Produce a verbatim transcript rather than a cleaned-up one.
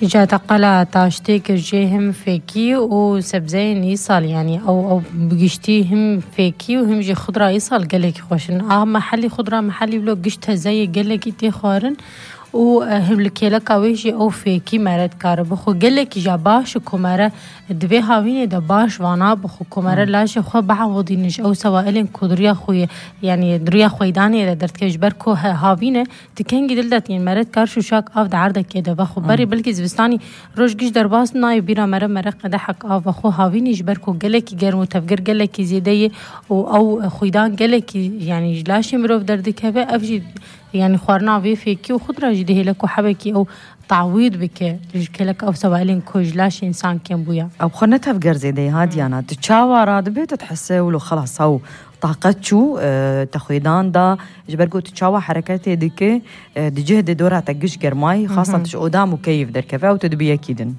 Îca te qala taştê kir jê him fêkî û sebzeyên îsal, yanî ew, ew bi giştî him fêkî û him jî xudra îsal gelekî xweş in. A mehelî, xudra mehelî wilo giş teze ye, gelekî tê xwarin û, e, him li kêleka wê jî ew fêkî mere dikare bixwe. Gelekî ja baş û ku mere di vê havînê de baş vana bixwe, ku mere laşê xwe biewidînin ji ew sewailên ku di riya xwe ye, yanî di riya xweydanê de derdikeve, ji ber ku he-, havîn e, di kengî dil de tîn mere dikar şûşak av di erdekê de vexwe. Berê belkî zivistanî roj giş derbas nayê, bîra mere mere qedehek av vexwe. Havînî ji ber ku gelekî germ û tevger gelekî zêde ye û ew xwîdan gelekî, yanî ji laşê mirov derdikeve, ev jî, yanî xwarina vê fêkî û xudra jî dihêle ku hebekî ew tawîd bike ji kêleka ew sewailên ku ji laşê însan kêm bûya. Ew xwe ne tevger zêde ye, ha Diyana. Tu çawa radibe, tu dihese wilo xelas ew taqet çû, e, te xwêdan da, ji ber ku tu çawa hereketê dike, e, di cih de dora te giş germayî, xasan tu ji odam û keyf derkeve ew tu dibî yekî din.